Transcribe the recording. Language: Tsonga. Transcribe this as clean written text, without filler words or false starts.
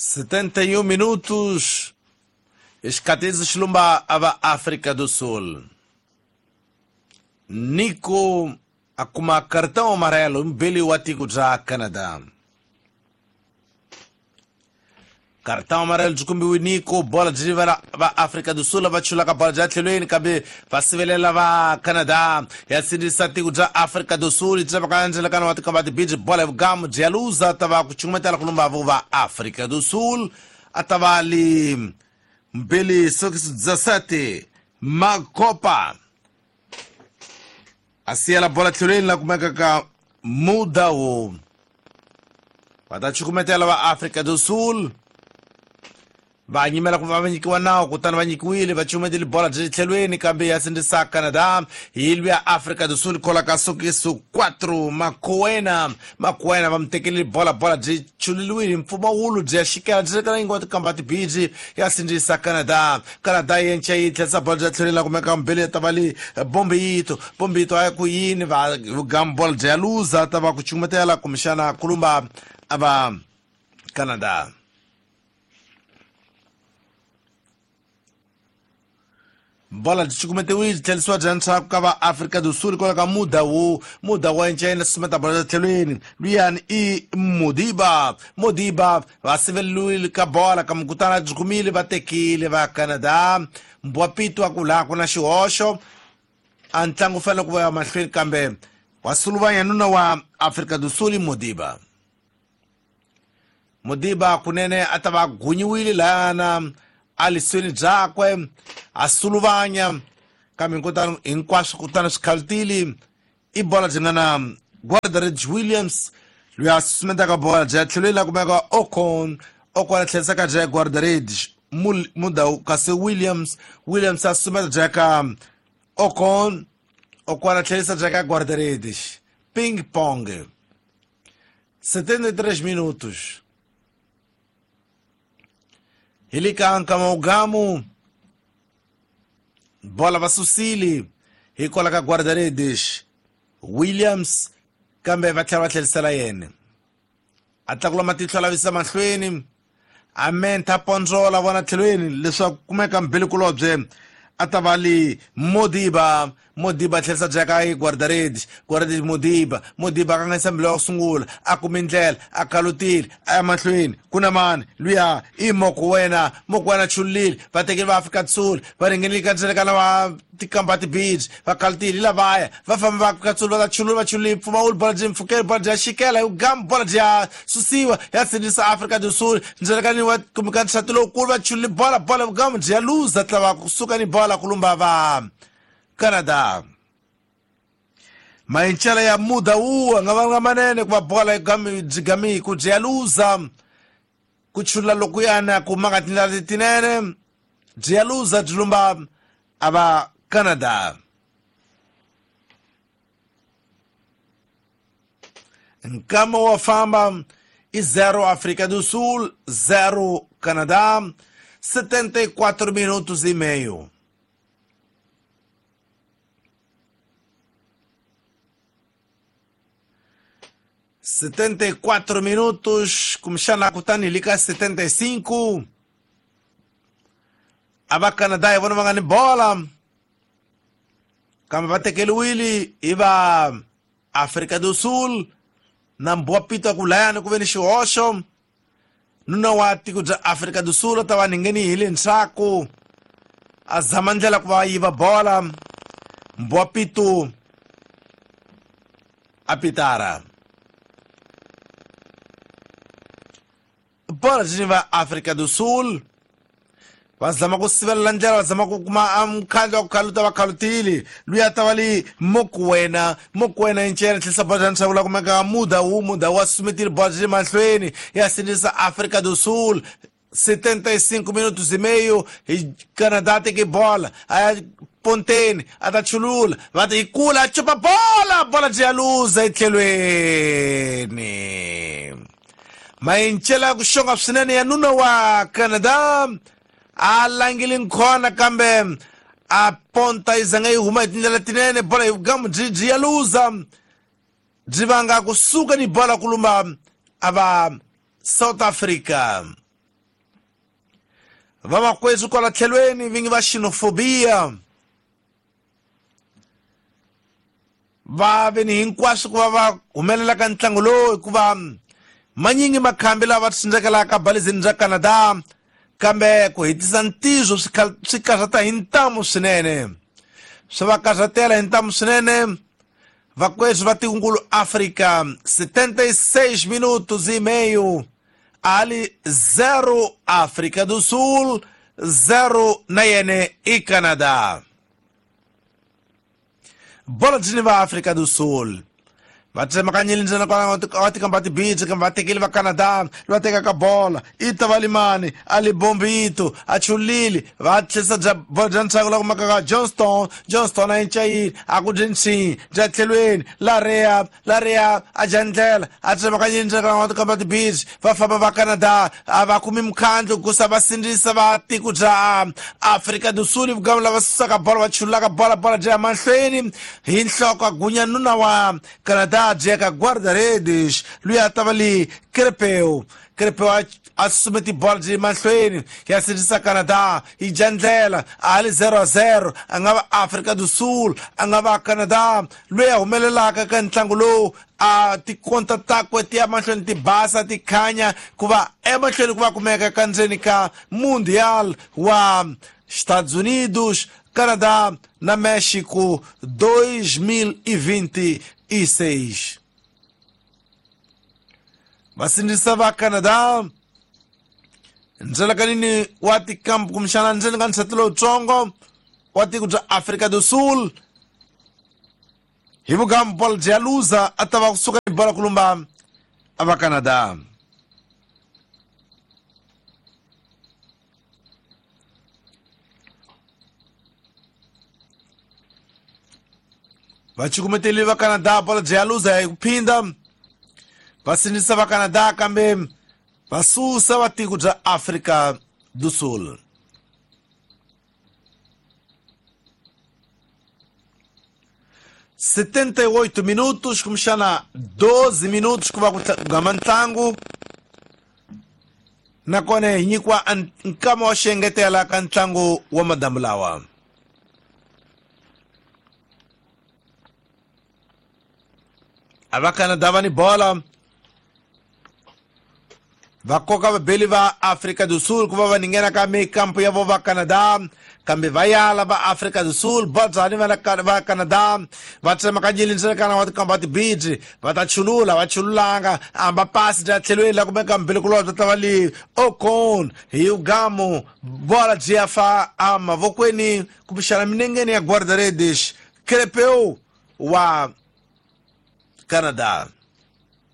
71 minutos. Escatez Xilumba ava África do Sul. Nico akuma cartão amarelo mbili wa tiko bya Canada. Cartão amarelo byi kumbiwe Nico, bola byi va Afrika do Sul va chulaka bola bya tlhelweni kambe va sivelela va Canada. Ya sindzisa tiko bya Afrika do Sul byi va ndzilakano wa tikamba tibiji bola vugamu byi ya luza ta va ku cukumetela ku lumba vo va Afrika do Sul a ta va li mbili sokisi 17 Makopa a siyela bola tlhelweni la kumeka ka Mudawu. Va ta cukumetela va Afrika do Sul va nyimela ku va nyikiwa nawu, kutani va nyikiwile va cukumetile bola byi tlhelweni kambe ya sindzisa Canada hi lwiya Afrika do Sul kola ka sokiso 4 Makoena. Makoena va mi tekelile bola, bola byi chuleliwile mpfumawulo byi ya xikela byi ri yingo tikamba tibiji ya sindzisa Canada. Canada yenca yi tlherisa bola bya tlhelweni la kumeka mbili ta va li Bombito. Bombito a ya ku yini va gam bola byi ya luza ta va ku cukumetela kumbexana kulumba a va Canada. Bola byi cukumetiwile byi tlherisiwa bya ndzhaku ka va Afrika do Sul kwala ka Mudawu. Mudawu wa encena sumeta bola bya tlhelweni luyani i Modiba. Modiba va siveleliwile ka bola kambe kutani byi kumile va tekile va Canada. Mbwapito a ku laha ku na xihoxo a ntlangu wu fanele ku va ya mahlweni kambe wa suluvanya nuna wa Afrika do Sul Modiba. Modiba kunene a ta va gunyiwile lahana a lisweni byakwe a suluvanya kambe kutani hinkwaswo kutani swi khalutile i bola byi nga na Guardarich Williams loyi a susumetaka bola bya tlhelweni la kumeka Ocon. Ocon a tlherisaka bya Guardarich Mudawu kasi Williams. Williams a susumeta bya ka Ocon. Ocon a tlherisa bya ka Guardarich. Ping pong. 73 minutos. Hilikanka maugamu bola va susile hikwalaho ka Guarda-redes Williams kambe va tlhela va tlherisela yena. A tlakula matihlo a lavisa mahlweni a mentha pondzola vona tlhelweni leswaku kumeka mbilikulobye a ta va li Modiba. Modiba tlherisa bya ka Guarda-redes. Guarda-redes Modiba. Modiba a kanganyisa mbilu ya ku sungula a kumi ndlela a kalutile a ya mahlweni ku na mani luya i Mokoena. Mokoena chulile va tekile va Afrika do Sul va ringenile ka ndzilekana wa tikamba tibiji va kalutile lavaya va famba va Afrika do Sul va ta chulula va chulile mpfumawulo bola byi mpfukeli bola bya xikela hi gamu bola bya susiwa ya sindzisa Afrika do Sul ndzilekani wa kumeka nxati lowukulu va chulile bola bola gamu byi ya luza tlava kusuka ni bola kulumba va Canada. Mayincela ya Mudawu a nga vanga manene ku va bola byi gami ku byi ya luza ku chula lokuyana ku maka tindlela letinene byi ya luza byi lumba a va Canada. Nkama wa famba i 0 Afrika do Sul 0 Canadá. 74 minutos e meio. 74 minutos, kumbexana kutani hi ka 75 a va Canada hi vona va nga ni bola kambe va tekeriwile hi va Afrika do Sul na Mbwapito ku layani ku ve ni xihoxo. Nuna wa tiko bya Afrika do Sul ta va ngheni hi le ndzhaku a zama ndlela ku va yiva bola. Mbwapito a pitara bola byi va Afrika do Sul va zama ku sivelela ndlela va zama ku kuma mukhandlu wa ku khaluta va khalutile luya ta va li Mokoena. Mokoena incela tlherisa bola bya nxavo la kumeka Mudawu. Mudawu wa susumetile bola byi le mahlweni ya sindzisa Afrika do Sul. 75 minutos e meio hi Canada teke bola a ya ponteni a ta chulula va ta yi kula a chupa bola bola byi ya luza etlhelweni. Mayincela ku xonga swinene ya nuna wa Canada a langile nkhona kambe a ponta yi zanga yi huma hi tindlela tinene bola hi gamu byi byi ya luza byi vanga kusuka ni bola kulumba a va South Africa. Vamakwethu kwala tlhelweni vingi va xenofobia va ve ni hinkwaswo ku va va humelela ka ntlangu lowu, hikuva manyingi makhambi lava tsundzekelaka balizini bya Canada, kambe ku hetisa ntizo swi karhata hi ntamu swinene, swi va karhatela hi ntamu swinene vakwethu va tikunkulu Afrika. 76 minutos e meio, ali 0 África do Sul, 0 na yene i Canadá. Bola dzini va África do Sul va tsemakanyile ndzena kwala va tikamba tibitsi, kambe va tekile va Canada, va tekaka bola i ta va limani a li bombito a chulile, va tlherisa bya bola bya ntshaku la kumaka ka Johnston. Johnston a incayile a ku dyi ntshinyi bya tlhelweni lareya lareya a dya ndlela a tsemakanyile ndzena kwala va tikamba tibitsi, va famba va Canada a va kumi mukhandlu kusa va sindzisa va tiko bya Afrika do Sul. Vugamu lava susaka bola va chululaka bola, bola bya mahlweni hi nhloko a gunya nuna wa Canadá bya guarda-redes loyi a ta va li Crepeu. Crepeu a susumeti bola byi mahlweni ya sindzisa Canada, yi dya ndlela a li 0-0. A nga va Afrika do Sul, a nga va Canada loyi a humelelaka ka ntlangu lowu, a tikonta takwe ti ya mahlweni ti basa ti khanya ku va emahlweni ku va kumeka ka ndzeni ka Mundial wa Estados Unidos, Canadá na México 2026. Vasindzisa va Canada ndzelakanini wa tikampu kumbexana ndzeni ka nsati lowutsongo wa tiko bya Afrika do Sul hi vugamu, bola bya luza a ta va kusuka ni bola kulumba a va Canada. Vacukumeteli va Canada, bola bya luza hi ku phinda va sindzisa va Canada, kambe va susa va tiko bya Afrika do Sul. 78 minutos kumbexana 12 minutos ku va ku gama ntlangu, nakona hi nyikiwa nkama wa xengetela ka ntlangu wa madamu lawa. A va Canada va ni bola, va koka vabeli va Afrika do Sul ku va va ninghena ka mikampu ya vo va Canada, kambe va yala va Afrika do Sul. Bodzani va Canada va tsemakanyile ndzeni wa tikamba tibidzi, va ta chulula, va chululanga amba pasi bya tlhelweni la kumeka mbilikulobye ta va li Ocon hi ugamu, bola byi ya fa emavokweni kumbexana minengeni ya guarda-redes Crepeu wa Canada.